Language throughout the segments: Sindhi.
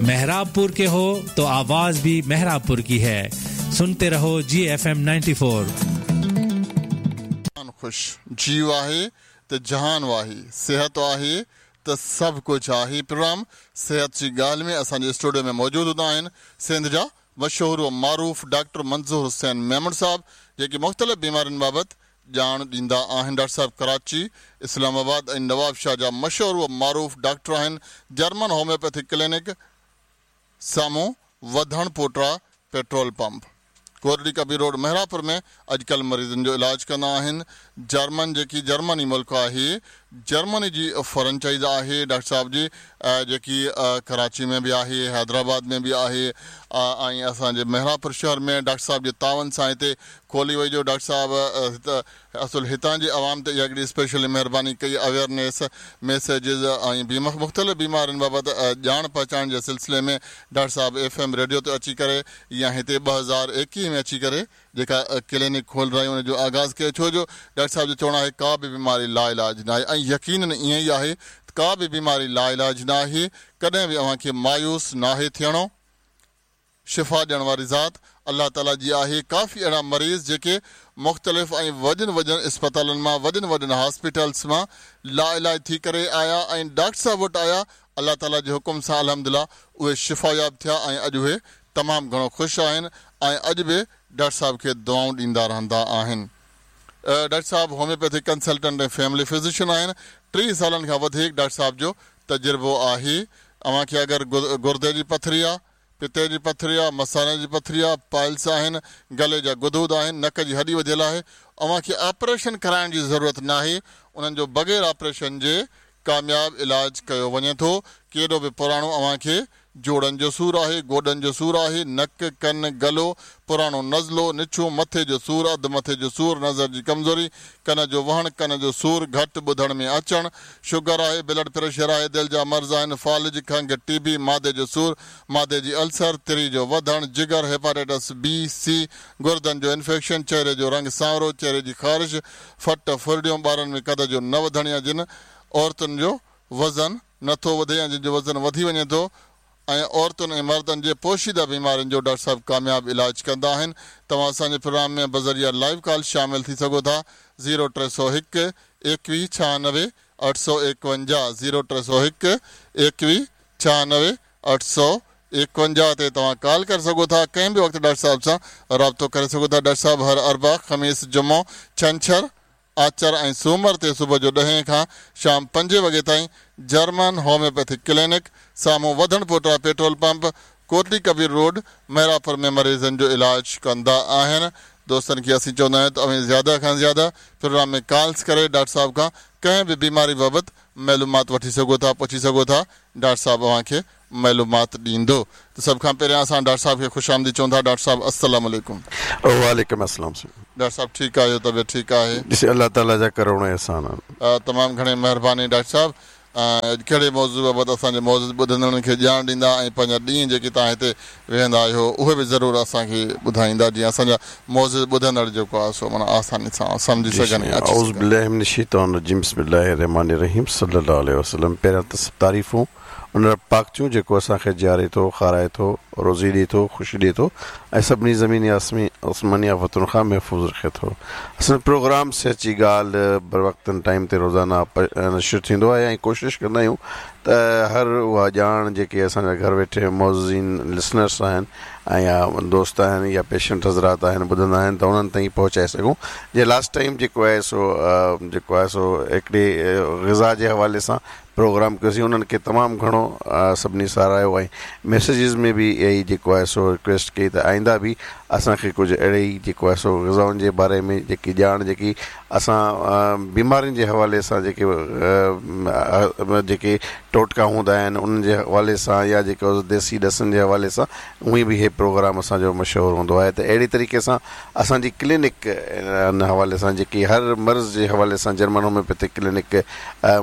मेहराबपुर के हो तो आवाज भी मेहराबपुर की है। सुनते रहो जी एफ एम 94। खुश जीव आहे त जहान आहे, सेहत आहे त सभु कुझु आहे। प्रोग्राम सेहत जी ॻाल्हि में असांजे स्टूडियो में मौजूदु हूंदा आहिनि सिंध जा मशहूर व मारूफ़ डॉक्टर मंज़ूर हुसैन मेमण साहब, जेके मुख़्तलिफ़ बीमारियुनि बाबति ॼाण ॾींदा आहिनि। डॉक्टर साहब कराची, इस्लामाबाद ऐं नवाबशाह जा मशहूर व मारूफ़ डॉक्टर आहिनि। जर्मन होम्योपैथिक क्लिनिक साम्हूं Wadhan Pota petrol pump, Kotri Kabir road, Mehrapur में अॼुकल्ह मरीज़नि जो इलाज कंदा आहिनि। जर्मन जेकी जर्मनी मुल्क आहे, जर्मनी जी फ्रेंचाइज़ आहे डॉक्टर साहब जी, जेकी कराची में बि आहे, हैदराबाद में बि आहे ऐं असांजे मेहरापुर शहर में डॉक्टर साहब जे तावन सां हिते खोली वई। जो डॉक्टर साहब असुल हितां जे आवाम ते इहा हिकिड़ी स्पेशली महिरबानी कई, अवेयरनेस मैसेजिस ऐं मुख़्तलिफ़ बीमारियुनि बाबति ॼाण पहुचाइण जे सिलसिले में डॉक्टर साहब एफ एम रेडियो ते अची करे या हिते 2021 में अची करे जेका क्लिनिक खोलराई उन जो आगाज़ कयो। छो जो डॉक्टर साहब जो चवणु आहे का बि बीमारी लाइलाज न आहे ऐं यकीनन ईअं ई आहे, का बि बीमारी लाइलाज न आहे। कॾहिं बि अव्हां मायूस नाहे थियणो। शिफ़ा ॾियण वारी ज़ात अलाह ताला जी आहे। काफ़ी अहिड़ा मरीज़ जेके मुख़्तलिफ़ ऐं वॾनि वॾनि अस्पतालनि मां, वॾनि वॾनि हॉस्पिटल्स मां लाइलाज थी करे आया ऐं डॉक्टर साहब वटि आया, अलाह ताला जे हुकुम सां अल्हम्दुलिल्लाह उहे शिफ़ायाब थिया ऐं अॼु उहे तमामु घणो ख़ुशि आहिनि ऐं अॼु बि डॉक्टर साहब खे दुआऊं ॾींदा रहंदा आहिनि। डॉक्टर साहब होम्योपैथिक कंसल्टेंट ऐं फैमिली फिजिशियन आहिनि। 30 सालनि खां वधीक डॉक्टर साहब जो तजुर्बो आहे। अव्हांखे अगरि गुर्दे जी पथरी आहे, पित्ते जी पथरी आहे, मसाले जी पथरी आहे, पाइल्स आहिनि, गले जा गुदूद आहिनि, नक जी हॾी वधियल आहे, अव्हांखे ऑपरेशन कराइण जी ज़रूरत न आहे। उन्हनि जो बग़ैर ऑपरेशन जे कामयाब इलाज कयो वञे थो। केॾो बि पुराणो अव्हांखे जोड़नि जो सूर आहे, गोॾनि जो सूर आहे, नक, कन, गलो, पुराणो नज़लो, निछू, मथे जो सूर, अधु मथे जो सूर, नज़र जी कमज़ोरी, कन जो वहण, कन जो सूर, घटि ॿुधण में अचणु, शुगर आहे, ब्लड प्रेशर आहे, दिलि जा मर्ज़ आहिनि, फ़ालिज, खंघ, टीबी, मादे जो सूर, मादे जी अल्सर, तिरी जो वधणु, जिगर, हेपाटाइटिस बी, सी, गुर्दनि जो इन्फेक्शन, चेहरे जो रंग सांवरो, चेहरे जी ख़ारिश, फट फुरड़ियूं, ॿारनि में कद जो न वधणु या जिन औरतुनि जो वज़न नथो वधे या जिन जो वज़न वधी वञे थो ऐं औरतुनि ऐं मर्दनि जे पोशीदा बीमारियुनि जो डॉक्टर साहब कामयाबु इलाज कंदा आहिनि। तव्हां असांजे प्रोग्राम में बज़रिया लाइव कॉल शामिल थी सघो था। 0301 21 96 851 0301 21 96 851 ते तव्हां कॉल करे सघो था। कंहिं बि वक़्तु डॉक्टर साहब सां राब्तो करे सघो था। डॉक्टर साहब हर अरबा, ख़मीस, जुमो, छंछर, आचर ऐं सूमर ते सुबुह जो 10 खां शाम 5 वॻे ताईं जर्मन होम्योपैथिक क्लिनिक साम्हूं Wadhan Pota petrol pump, Kotli Kabir road, Mehrapur में मरीज़नि जो इलाज कंदा आहिनि। दोस्तनि खे असीं चवंदा आहियूं त अव्हीं ज़्यादा खां ज़्यादा प्रोग्राम में कॉल्स करे डॉक्टर साहब खां कंहिं बि बीमारी बाबति मालूमात वठी सघो था, पुछी सघो था, डॉक्टर साहब अव्हांखे मालूमात ॾींदो। त सभ खां पहिरियां असां डॉक्टर साहब खे ख़ुशि आमदीद चऊं था। डॉक्टर साहब अस्सलाम वालेकुम। वालेकुम अस्सलाम। डॉक्टर साहब ठीकु आहियो? तबियत ठीकु आहे? ॾिस अलाह ताला जा करोड़ एहसान आहिनि। तमामु घणे महिरबानी डॉक्टर साहब। कहिड़े मौज़ू बाबति असांजे मौज़ू ॿुधंदड़नि खे ॼाण ॾींदा ऐं पंहिंजा ॾींहं जेके तव्हां हिते वेहंदा आहियो उहे बि ज़रूरु असांखे ॿुधाईंदा, जीअं असांजा मौज़ू ॿुधंदड़ जेको आहे सो माना आसानी सां सम्झी सघनि। औज़ु बिल्लाहि मिनश शैतानिर रजीम, बिस्मिल्लाहिर रहमानिर रहीम, सल्लल्लाहु अलैहि वसल्लम। पहिरियां त सभु तारीफ़ूं उन रब पाक जूं जेको असांखे जीआरे थो, खाराए थो, रोज़ी ॾिए थो, ख़ुशी ॾिए थो ऐं सभिनी ज़मीनी आसमानी आफ़तुनि खां महफ़ूज़ रखे थो। असांजो प्रोग्राम सेहत जी ॻाल्हि बर वक़्तनि टाइम ते रोज़ाना नशर थींदो आहे ऐं कोशिशि कंदा आहियूं त हर उहा ॼाण जेके असांजा घर वेठे मौज़ीन लिसनर्स आहिनि ऐं या दोस्त आहिनि या पेशेंट हज़रात आहिनि ॿुधंदा आहिनि त उन्हनि ताईं पहुचाए सघूं। जे लास्ट टाइम जेको आहे सो हिकिड़ी ग़िज़ा जे हवाले सां प्रोग्राम कयोसीं, उन्हनि खे तमामु घणो सभिनी सराहियो ऐं मैसेजिस में बि इहा ई जेको आहे सो रिक्वेस्ट कई त आइंदा बि असांखे कुझु अहिड़े ई जेको आहे सो ग़िज़ाउनि जे बारे में जेकी ॼाण जेकी असां बीमारियुनि जे हवाले सां जेके जेके टोटका हूंदा आहिनि उन्हनि जे हवाले सां या जेको देसी ॾसनि जे हवाले सां उहा बि हे प्रोग्राम असांजो मशहूरु हूंदो आहे। त अहिड़े तरीक़े सां असांजी क्लिनिक इन हवाले सां जेकी हर मर्ज़ जे हवाले सां जर्मन होम्योपैथिक क्लिनिक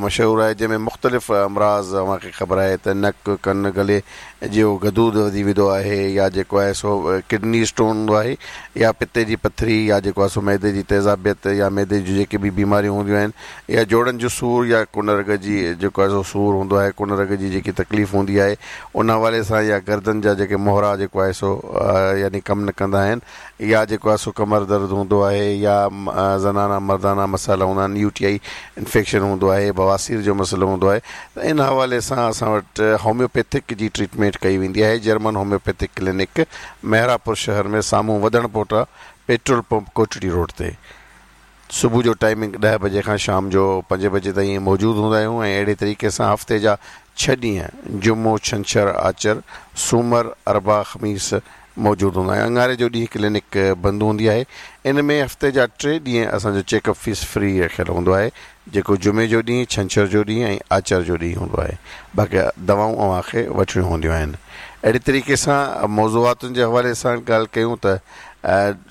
मशहूरु आहे, जंहिंमें मुख़्तलिफ़ अमराज़ अव्हांखे ख़बर आहे त नक, कन, गले जो गदूद वधी वेंदो आहे या जेको आहे सो किडनी स्टोन हूंदो आहे या पित्ते जी पथरी या जेको आहे सो मैदे जी तेज़ाबियत या मैदे जूं जेके बि बीमारियूं हूंदियूं आहिनि या जोड़नि जो सूर या कुनरग जी जेको आहे सो सूर हूंदो هوندو آهي ڪن رڳ جي جيڪي تڪليف هوندي آهي ان حوالي سان يا گردن جا جيڪي مهرا جيڪو آهي سو يعني ڪم نه ڪندا آهن يا جيڪو آهي سو ڪمر درد هوندو آهي يا زنانا مردانا مسئلا هوندا آهن يو ٽي آئي انفيڪشن هوندو آهي بواسير جو مسئلو هوندو آهي ته ان حوالي سان اسان وٽ هوميوپيٿڪ جي ٽريٽمينٽ ڪئي ويندي آهي جرمن هوميوپيٿڪ ڪلينڪ محرابپور شهر ۾ سامهون وڌڻ پوٽا پيٽرول پمپ ڪوٽڙي روڊ تي صبح جو ٽائمنگ ڏهه بجي کان شام جو پنج بجي تائين موجود هوندا آهيون ۽ اهڙي طريقي سان هفتي جا ڇهه ڏينهن جمعو، ڇنڇر، آچر، سومر، اربع، خميس موجود هوندا آهيون. اڱاري جو ڏينهن ڪلينڪ بند هوندي آهي. ان ۾ هفتي جا ٽي ڏينهن اسان جو چيڪ اپ فيس فري رکيل هوندو آهي جيڪو جمعي جو ڏينهن، ڇنڇر جو ڏينهن ۽ آچر جو ڏينهن هوندو آهي. باقي دوائون اوهان کي وٺڻيون هونديون آهن. اهڙي طريقي سان موضوعاتن جي حوالي سان ڳالهه ڪيون ته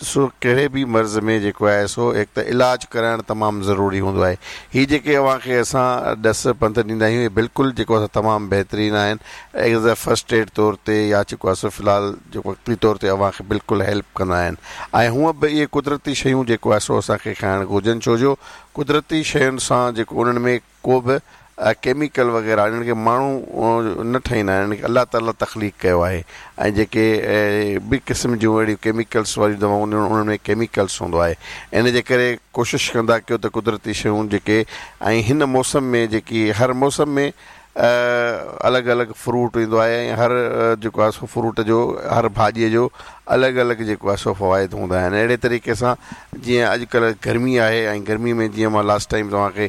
سو ڪهڙي به مرض ۾ جيڪو آهي سو هڪ ته علاج ڪرائڻ تمام ضروري هوندو آهي. هي جيڪي اوهان کي اسان ڏس پنڌ ڏيندا آهيون اهي بلڪل جيڪو آهي سو تمام بهترين آهن ايز اي فرسٽ ايڊ طور تي يا جيڪو آهي سو في الحال وقتي طور تي اوهان کي بلڪل هيلپ ڪندا آهن ۽ هونء به اهي قدرتي شيون جيڪو آهي سو اسان کي کائڻ گهرجن ڇو جو قدرتي شين سان جيڪو انهن ۾ ڪو به ڪيميڪل وغيره انهن کي ماڻهو نه ٺاهيندا آهن انهن کي الله تعالي تخليق ڪيو آهي ۽ جيڪي به قسم جون اهڙيون ڪيميڪلس واريون دوائون هونديون آهن انهن ۾ ڪيميڪلس هوندو آهي ان جي ڪري ڪوشش ڪندا ڪيو ته قدرتي شيون جيڪي ۽ هن موسم ۾ جيڪي هر موسم ۾ الڳ الڳ فروٽ ايندو آهي ۽ هر جيڪو آهي سو فروٽ جو هر ڀاڄيء جو الڳ الڳ جيڪو آهي سو فوائد هوندا آهن اهڙي طريقي سان جيئن اڄڪلهه گرمي آهي ۽ گرمي ۾ جيئن مان لاسٽ ٽائيم توهان کي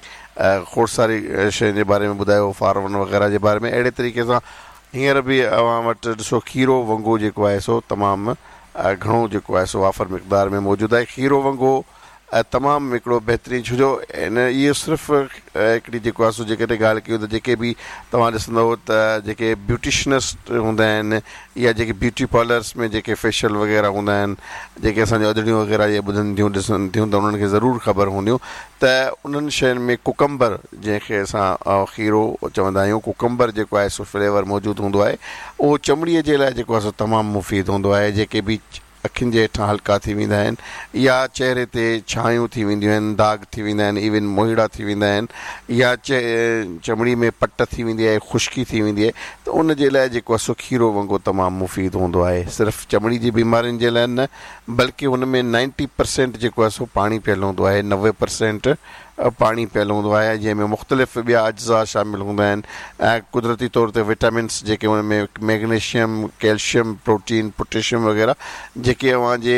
کوڙ ساري شين جي باري ۾ ٻڌايو فارون وغيره جي باري ۾ اهڙي طريقي سان هينئر به اوهان وٽ ڏسو کيرو ونگو جيڪو آهي سو تمام گهڻو جيڪو آهي سو وافر مقدار ۾ موجود آهي کيرو ونگو تمام هڪڙو بهترين ڇو جو ان اهو صرف هڪڙي جيڪو آهي سو جيڪڏهن ڳالهه ڪيون ته جيڪي به توهان ڏسندؤ ته جيڪي بيوٽيشنسٽ هوندا آهن يا جيڪي بيوٽي پارلرس ۾ جيڪي فيشل وغيره هوندا آهن جيڪي اسان جون ادڙيون وغيره اهي ٻڌن ٿيون ڏسن ٿيون ته انهن کي ضرور خبر هونديون ته انهن شين ۾ ڪوڪمبر جنهن کي اسان کيرو چوندا آهيون ڪوڪمبر جيڪو آهي سو فليور موجود هوندو آهي اهو چمڙي جي لاء جيڪو آهي سو تمام مفيد هوندو آهي جيڪي به اکين جي هيٺان هلڪا ٿي ويندا آهن يا چهري تي ڇانيون ٿي وينديون آهن، داغ ٿي ويندا آهن، ايون موهيڙا ٿي ويندا آهن يا چمڙي ۾ پٽ ٿي ويندي آهي، خشڪي ٿي ويندي آهي ته ان جي لاء جيڪو آهي سو کيرو ونگو تمام مفيد هوندو آهي. صرف چمڙي جي بيمارين جي لاء نه بلڪه هن ۾ نائنٽي پرسينٽ جيڪو آهي سو پاڻي پيل هوندو آهي، 90 پرسينٽ پاڻي پيل هوندو آهي جنهن ۾ مختلف ٻيا اجزا شامل هوندا آهن ۽ قدرتي طور تي وٽامنس جيڪي ان ۾ ميگنيشيم، ڪيلشيم، پروٽين، پوٽيشيم وغيره جيڪي اوهان جي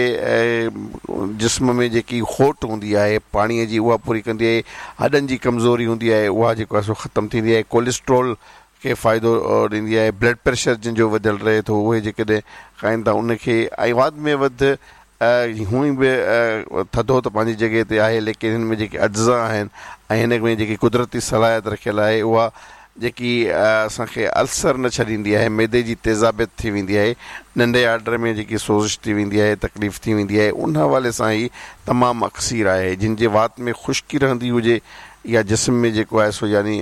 جسم ۾ جيڪي کوٽ هوندي آهي پاڻي جي اها پوري ڪندي آهي، هڏن جي ڪمزوري هوندي آهي اها جيڪو آهي سو ختم ٿيندي آهي، ڪوليسٽرول کي فائدو ڏيندي آهي، بلڊ پريشر جن جو وڌيل رهي ٿو اهي جيڪڏهن کائن ٿا ان کي ۽ واڌ ۾ وڌ هونئن به ٿڌو ته پنهنجي جڳهه تي آهي ليڪن هن ۾ جيڪي اجزا آهن ۽ هن ۾ جيڪي قدرتي صلاحيت رکيل آهي اها جيڪي اسان کي السر نه ڇڏيندي آهي معدي جي تيزابيت ٿي ويندي آهي ننڍي آرڊر ۾ جيڪي سوزش ٿي ويندي آهي تڪليف ٿي ويندي آهي ان حوالي سان هي تمام اڪسير آهي جن جي وات ۾ خشڪي رهندي هجي يا جسم ۾ جيڪو آهي سو يعني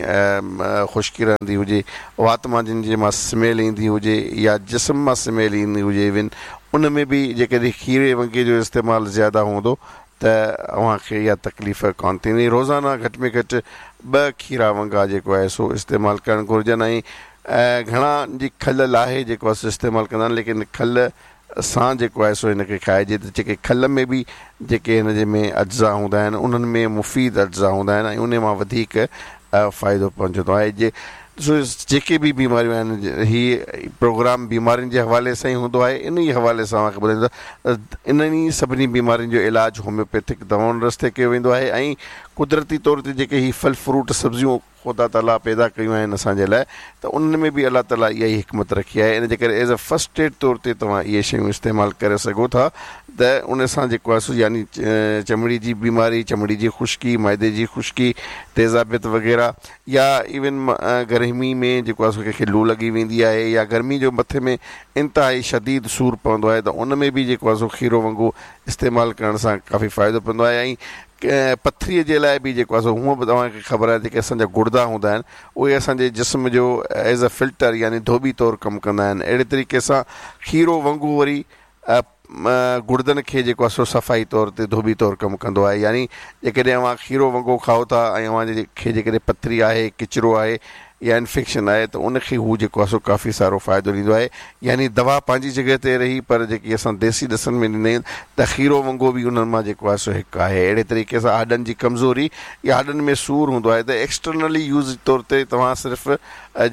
خشڪي رهندي هجي، وات مان جن جي مان سميل ايندي هجي يا جسم مان سميل ايندي هجي ايون ان ۾ به جيڪڏهن کيري ونگي جو استعمال زياده هوندو ته اوهان کي اها تڪليف ڪانه ٿيندي. روزانه گهٽ ۾ گهٽ ٻه کيرا ونگا جيڪو آهي سو استعمال ڪرڻ گهرجن ۽ گهڻا جي کل لاهي جيڪو آهي سو استعمال ڪندا آهن ليڪن کل سان جيڪو آهي سو هن کي کائجي ته جيڪي کل ۾ به جيڪي هن جي ۾ اجزا هوندا آهن انهن ۾ مفيد اجزا هوندا آهن ۽ انهي مان وڌيڪ فائدو پهچندو آهي جي سو جيڪي به بيماريون آهن هي پروگرام بيمارين جي حوالي سان ئي هوندو آهي انهي حوالي سان اوهان کي ٻڌائيندو ته انهن ئي سڀني بيمارين جو علاج هوميوپيٿڪ دوائن رستي ڪيو ويندو آهي ۽ قدرتي طور تي جيڪي هي ڦل فروٽ سبزيون خدا تعاليٰ پيدا ڪيون آهن اسان جي لاء ته انهن ۾ به الله تعاليٰ اها ئي حڪمت رکي آهي ان جي ڪري ايز اي فرسٽ ايڊ طور تي توهان اهي شيون استعمال ڪري سگهو ٿا ته ان سان جيڪو آهي سو يعني چمڙي جي بيماري چمڙي جي خشڪي معدي جي خشڪي تيزابيت وغيره يا ايون گرمي ۾ جيڪو آهي سو ڪنهن کي لو لڳي ويندي آهي يا گرمي جو مٿي ۾ انتهائي شديد سور پوندو آهي ته ان ۾ به جيڪو آهي سو کيرو ونگو استعمال ڪرڻ سان ڪافي فائدو پوندو آهي ۽ پٿريء جي لاء به جيڪو آهي سو هونء به توهان کي خبر آهي جيڪي اسان جا گڙدا هوندا آهن اهي اسان جي جسم جو ايز اي فلٽر يعني ڌوٻي طور ڪم ڪندا آهن اهڙي طريقي سان کيرو ونگو وري گڙدن کي جيڪو آهي سو صفائي طور تي ڌوٻي طور ڪم ڪندو آهي يعني جيڪڏهن اوهان کيرو ونگو کائو ٿا ۽ اوهان جي کي جيڪڏهن پٿري آهي ڪچرو آهي يا انفيڪشن آهي ته ان کي هو جيڪو آهي سو ڪافي سارو فائدو ڏيندو آهي يعني دوا پنهنجي جڳهه تي رهي پر جيڪي اسان ديسي ڏسن ۾ ڏيندا آهيون ته کيرو ونگو به انهن مان جيڪو آهي سو هڪ آهي. اهڙي طريقي سان هڏن جي ڪمزوري يا هڏن ۾ سور هوندو آهي ته ايڪسٽرنلي يوز طور تي توهان صرف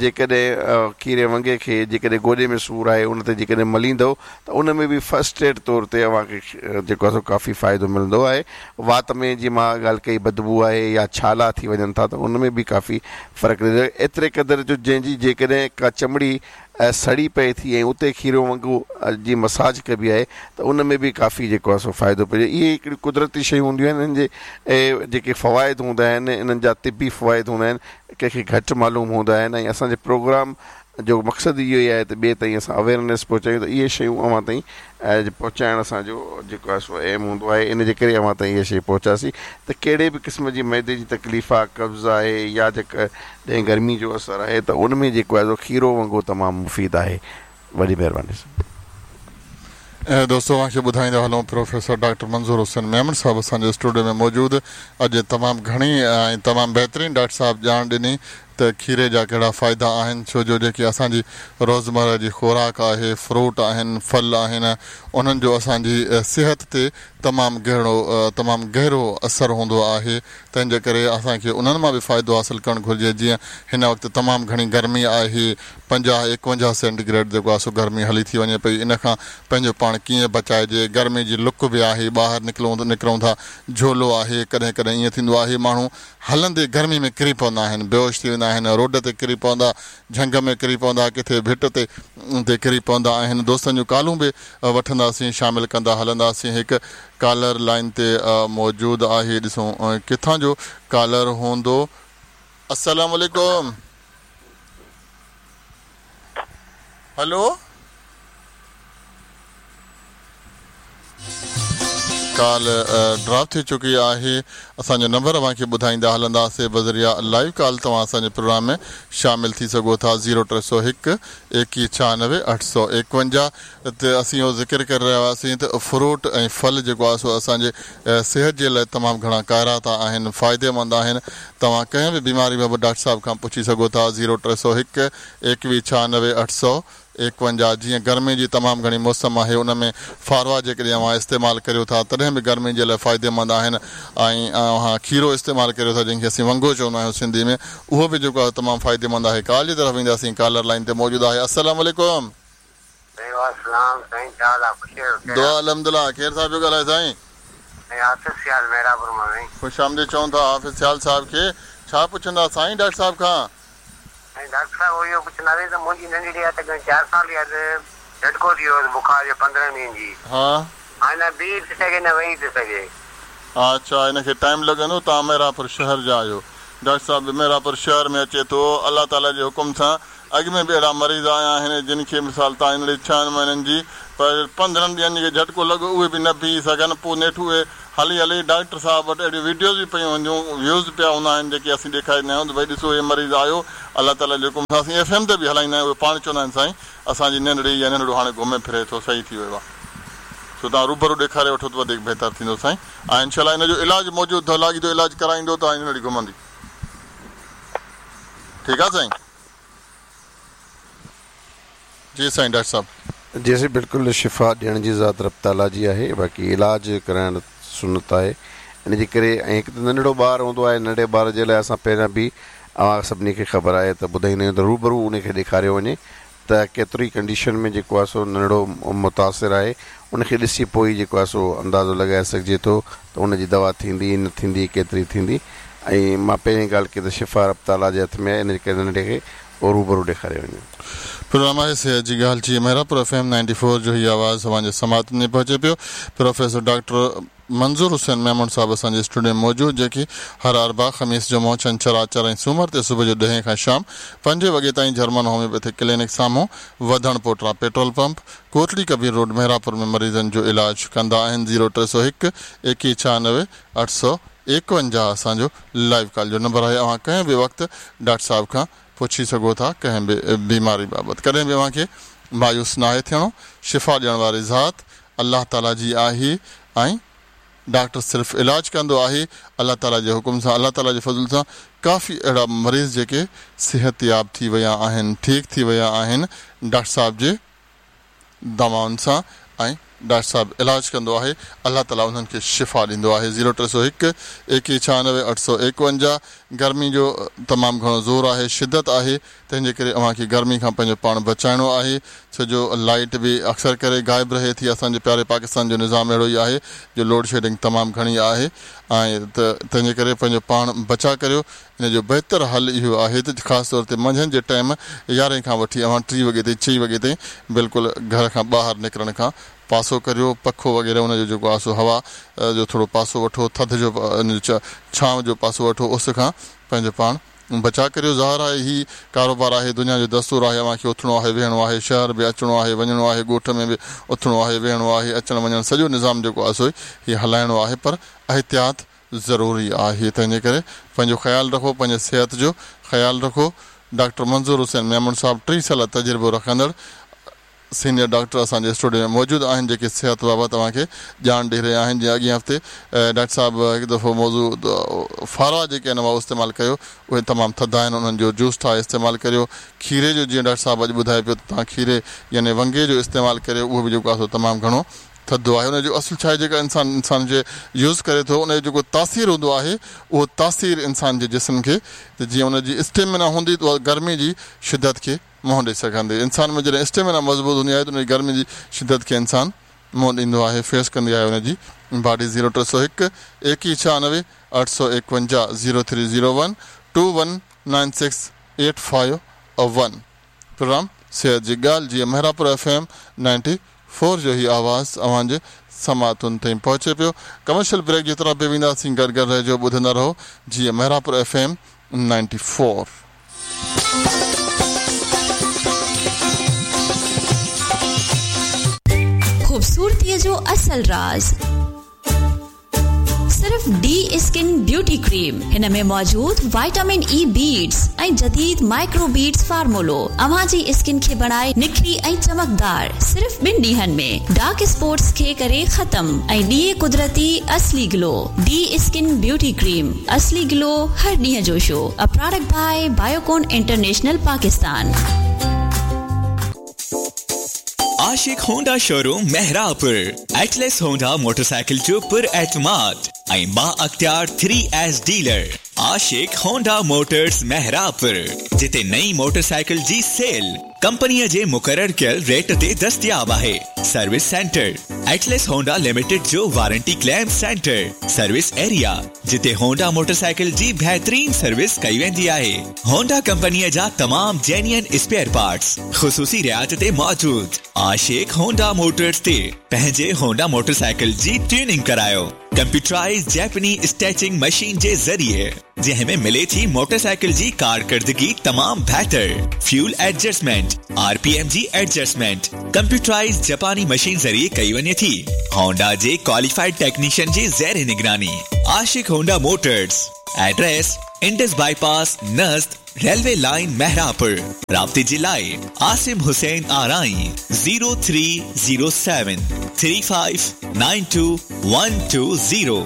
جيڪڏهن کيري ونگي کي جيڪڏهن گوڏي ۾ سور آهي ان تي جيڪڏهن مليندؤ ته ان ۾ به فرسٽ ايڊ طور تي اوهان کي جيڪو آهي سو ڪافي فائدو ملندو آهي. وات ۾ جيئن مان ڳالهه ڪئي بدبو آهي يا ڇالا ٿي وڃن ٿا ته ان ۾ به ڪافي فرق ڏيندو آهي ايتري قدر جو جنهن جي جيڪڏهن ڪا چمڙي سڙي پئي ٿي ۽ اتي کيرو ونگو جي مساج ڪبي آهي ته ان ۾ به ڪافي جيڪو آهي سو فائدو پئجي اهي هڪڙيون قدرتي شيون هونديون آهن انهن جي جيڪي فوائد هوندا آهن انهن جا طبي فوائد هوندا آهن ڪنهن کي گهٽ معلوم هوندا آهن ۽ اسان جي پروگرام جو مقصد اهو ئي آهي ته ٻئي تائين اسان اويئرنيس پهچايون ته اهي شيون اوهان تائين پهچائڻ اسان جو جيڪو آهي سو ايم هوندو آهي ان جي ڪري اوهان تائين اها شي پهچاسين ته ڪهڙي به قسم جي معدي جي تڪليف آهي قبض آهي يا جيڪڏهن گرمي جو اثر آهي ته ان ۾ جيڪو آهي سو کيرو ونگو تمام مفيد آهي وڏي مهرباني. دوستو اوهان کي ٻڌائيندا هلون پروفيسر ڊاڪٽر منظور حسين ميمڻ صاحب اسان جي اسٽوڊيو ۾ موجود اڄ تمام گهڻي ۽ تمام بهترين ڊاڪٽر صاحب ڄاڻ ڏني ته کيري جا ڪهڙا فائدا آهن ڇو جو جيڪي اسان جي روزمره جي خوراڪ آهي فروٽ آهن ڦل آهن انهن جو اسان جي صحت تي تمام گهڻو تمام گهرو اثر هوندو آهي تنهن جي ڪري اسان کي انهن مان به فائدو حاصل ڪرڻ گهرجي جيئن هن وقت تمام گهڻي گرمي آهي 50 51 سينٽي گريڊ جيڪو آهي سو گرمي هلي ٿي وڃي پئي ان کان پنهنجو پاڻ ڪيئن بچائجي گرمي جي لڪ به آهي ٻاهر نڪلون نڪرون ٿا جهولو آهي ڪڏهن ڪڏهن ائين ٿيندو آهي ماڻهو هلندي گرمي ۾ ڪري پوندا آهن، بيهوش ٿي ويندا آهن، روڊ تي ڪري پوندا، جهنگ ۾ ڪري پوندا، ڪٿي ڀٽ تي تي ڪري پوندا آهن. دوستن جون ڪالون به وٺنداسين، شامل ڪندا هلنداسين. هڪ ڪالر لائين تي موجود آهي، ڏسون ڪٿان جو ڪالر هوندو. السلام عليڪم. هلو. ڪال ڊراپ ٿي چڪي آهي اسان جو نمبر اوهان کي ٻڌائيندا هلنداسي بذريعه لائيو ڪال توهان اسان جي پروگرام ۾ شامل ٿي سگهو ٿا زيرو 301 21 96 851 تي اسين اهو ذڪر ڪري رهيا هئاسين ته فروٽ ۽ ڦل جيڪو آهي سو اسان جي صحت جي لاء تمام گهڻا ڪارائتا آهن فائديمند آهن توهان ڪنهن به بيماري بابت ڊاڪٽر صاحب کان پڇي سگهو ٿا زيرو 301 21 96 851 جيئن گرمي جي تمام گهڻي موسم آهي ان ۾ فاروا جيڪڏهن اوهان استعمال ڪريو ٿا تڏهن به گرمي جي لاء فائديمند آهن ۽ اوهان کيرو استعمال ڪريو ٿا جنهن کي اسين ونگو چوندا آهيون سنڌي ۾ اهو به جيڪو آهي تمام فائديمند آهي ڪال جي طرف وينداسين ڪالر لائين تي موجود آهي السلام عليڪم. سائين وعليڪم السلام سائين ڇا حال آ خوش آهيو خير آ. دعا الحمدلله ڪير صاحب پيو ڳالهائي سائين. سائين حافظ سيال محرابپور مان سائين. خوش آمديد چئون ٿا حافظ سيال صاحب کي ڇا پڇندا سائين ڊاڪٽر صاحب کان. سائين ڊاڪٽر صاحب اهو پڇنداسين ته منهنجي ننڍڙي آهي تقريبن چار سال جي آهي ته جهٽڪو ٿي ويو هوس بخار جو 15 ڏينهن جي ها. هاڻي نه بيهي ٿي سگهي نه ويهي ٿي سگهي. اڇا ان کي ٽائيم لڳندو توهان محرابپور شهر جا آهيو ڊاڪٽر صاحب به محرابپور شهر ۾ اچي ٿو الله تعالي جي حڪم سان اڳ ۾ به اهڙا مريض آيا آهن جن کي مثال تان ننڍڙي ڇهن مهينن جي پر 15 ڏينهن جي جهٽڪو لڳو اهي به نه بيهي سگهن پوء نيٺ اهي هلي هلي ڊاڪٽر صاحب وٽ اهڙيون ويڊيوز به پيون هونديون ويوز پيا هوندا آهن جيڪي اسين ڏيکاريندا آهيون ته ڀئي ڏسو هي مريض آيو الله تعالي جي حڪم سان اسين ايف ايم تي به هلائيندا آهيون اهي پاڻ چوندا آهن سائين اسان جي ننڍڙي يا ننڍڙو هاڻي گهمي ڦري ٿو صحيح ٿي ويو آهي سو توهان روبرو ڏيکاري وٺو ته وڌيڪ بهتر ٿيندو سائين ۽ انشاء الله ان جو علاج موجود اٿو لاڳيتو علاج ڪرائيندو ته ننڍڙي گهمندي ٺيڪ آهي سائين. جي سائين ڊاڪٽر صاحب. جي سائين بلڪل شفا ڏيڻ جي ذات رب تعاليٰ جي آهي باقي علاج ڪرائڻ سنت آهي ان جي ڪري ۽ هڪ ته ننڍڙو ٻار هوندو آهي ننڍي ٻار جي لاء اسان پهريان به اوهان سڀني کي خبر آهي ته ٻڌائيندا آهيون ته روبرو ان کي ڏيکاريو وڃي ته ڪيتري ڪنڊيشن ۾ جيڪو آهي سو ننڍڙو متاثر آهي ان کي ڏسي پوء ئي جيڪو آهي سو اندازو لڳائي سگهجي ٿو ته ان جي دوا ٿيندي نه ٿيندي ڪيتري ٿيندي ۽ مان پهرين ڳالهه ڪئي ته شفا رب تعاليٰ جي هٿ ۾ آهي ان جي ڪري ننڍڙي کي روبرو ڏيکاريو وڃي. پروگرام آهي صحت جي ڳالهه جي محرابپور ايف ايم 94 جو هي آواز اوهان جي سماعتن ۾ پهچي پيو. پروفيسر ڊاڪٽر منظور حسين ميمڻ صاحب اسان جي اسٽوڊيو ۾ موجود جيڪي هر اربع، خميس، جمعو، ڇنڇر، آچر ۽ سومر تي صبح جو ڏهين کان شام پنجين وڳي تائين جرمن هوميوپيٿڪ ڪلينڪ سامهون وڌڻ پوٽرا petrol pump, Kotri Kabir road Mehrabpur ۾ مريضن جو علاج ڪندا آهن زيرو 301 21 96 851 اسان جو لائيو ڪال جو نمبر آهي اوهان ڪنهن به وقت ڊاڪٽر صاحب کان پڇي سگهو ٿا ڪنهن به بيماري بابت ڪڏهن به اوهان کي مايوس ناهي ٿيڻو شفا ڏيڻ واري ذات الله تعالي جي آهي ۽ ڊاڪٽر صرف علاج ڪندو آهي الله تعالي جي حڪم سان الله تعالي جي فضل سان ڪافي اهڙا مريض جيڪي صحتياب ٿي ويا آهن، ٺيڪ ٿي ويا آهن ڊاڪٽر صاحب جي دوائن سان ۽ ڊاڪٽر صاحب علاج ڪندو آهي الله تعالي انهن کي شفا ڏيندو آهي زيرو 301 ايڪيهه 96 851 گرمي جو تمام گهڻو زور آهي شدت آهي تنهن جي ڪري اوهان کي گرمي کان پنهنجو پاڻ بچائڻو آهي ڇو جو لائيٽ به اڪثر ڪري غائب رهي ٿي اسان جي پياري پاڪستان جو نظام اهڙو ئي آهي جو لوڊ شيڊنگ تمام گهڻي آهي ۽ ته تنهن جي ڪري پنهنجو پاڻ بچا ڪريو ان جو بهتر حل اهو آهي ته خاص طور تي منجهند جي ٽائيم يارهين کان وٺي اوهان ٽي وڳي تائين چئين وڳي تائين بلڪل گهر کان ٻاهر نڪرڻ کان پاسو ڪريو پکو وغيره ان جو جيڪو آهي سو هوا جو ٿورو پاسو وٺو ٿڌ جو ان جو ڇانو جو پاسو وٺو اس کان پنهنجو پاڻ بچاء ڪريو ظاهر آهي هي ڪاروبار آهي دنيا جو دستور آهي اوهان کي اٿڻو آهي ويهڻو آهي شهر به اچڻو آهي وڃڻو آهي ڳوٺ ۾ به اٿڻو آهي ويهڻو آهي اچڻ وڃڻ سڄو نظام جيڪو آهي سو هي هلائڻو آهي پر احتياط ضروري آهي تنهنجي ڪري پنهنجو خيال رکو پنهنجي صحت جو خيال رکو ڊاڪٽر منظور حسين ميمڻ صاحب 30 سالا تجربو رکندڙ سينيئر ڊاڪٽر اسان جي اسٽوڊيو ۾ موجود آهن جيڪي صحت بابت اوهان کي ڄاڻ ڏئي رهيا آهن جيئن اڳئين هفتي ڊاڪٽر صاحب هڪ دفعو موضوع فاروا جيڪي آهن اها استعمال ڪيو اهي تمام ٿڌا آهن انهن جو جوس ٺاهي استعمال ڪريو کيري جو جيئن ڊاڪٽر صاحب اڄ ٻڌائي پيو ته توهان کيري يعني ونگي جو استعمال ڪريو اهو به جيڪو آهي سو تمام گهڻو ٿڌو آهي ان جو اصل ڇا آهي جيڪا انسان انسان جي يوز ڪري ٿو ان جو جيڪو تاثير هوندو آهي اهو تاثير انسان جي جسم کي ته جيئن ان جي اسٽيمنا هوندي ته اها گرمي جي شدت کي منهن ڏئي سگهندي انسان ۾ جڏهن اسٽيمنا مضبوط هوندي آهي ته ان جي گرمي جي شدت کي انسان منهن ڏيندو آهي فيس ڪندي آهي ان جي body zero 301 21 96 851 zero three zero one two one nine six eight five one programme صحت جي ڳالهه جيئن مهراپور ايف ايم 94 جو هي آواز اوهان جي سماعتن تائين پهچي پيو. ڪمرشل بريڪ جي طرف به وينداسين گڏ گڏ رهجو ٻڌندا رهو جيئن مهراپور ايف ايم 94. خوبصورتيء جو اصل راز. صرف ڊي اسڪن بيوٽي ڪريم هن ۾ موجود وائٽامن اي بيڊز ۽ جديد مائڪرو بيڊز فارمولو اوهان جي اسڪن کي بڻائي نکري ۽ چمڪدار صرف ٻن ڏينهن ۾ ڊارڪ اسپاٽس کي ڪري ختم ۽ ڏئي قدرتي اصلي گلو ڊي اسڪن بيوٽي ڪريم اصلي گلو هر ڏينهن جو show a product by Biocon international Pakistan. Ashiq Honda showroom Mehrabpur Atlas Honda motorcycle جو پر اعتماد ۽ بااختيار three S dealer Ashiq Honda motors Mehrabpur جتي نئين موٽرسائيڪل جي سيل ڪمپنيء جي مقرر ڪيل ريٽ تي دستياب آهي service centre Atlas Honda limited جو warranty claim centre service area جتي هونڊا موٽرسائيڪل جي بهترين سروس ڪئي ويندي آهي. هونڊا ڪمپنيء جا تمام جينيئن اسپيئر پارٽس خصوصي رعايت تي موجود. عاشق هونڊا موٽرز تي پنهنجي هونڊا موٽرسائيڪل جي ٽيوننگ ڪرايو. ڪمپيوٽرائيزڊ جيپني اسٽيچنگ مشين جي ذريعي جنهن ۾ ملي ٿي موٽرسائيڪل جي ڪارڪردگي تمام بهتر، fuel adjustment, R P M جي ايڊجسٽمينٽ ڪمپيوٽرائيزڊ جپاني مشين ذريعي ڪئي وڃي ٿي. هونڊا جي ڪواليفائيڊ ٽيڪنيشن جي زير نگراني. Ashiq Honda motors, address Indus bypass نزد ريلوي لائين مهراپور. رابطي جي لاء عاصم حسين آرائين zero three zero seven three five nine two one two zero.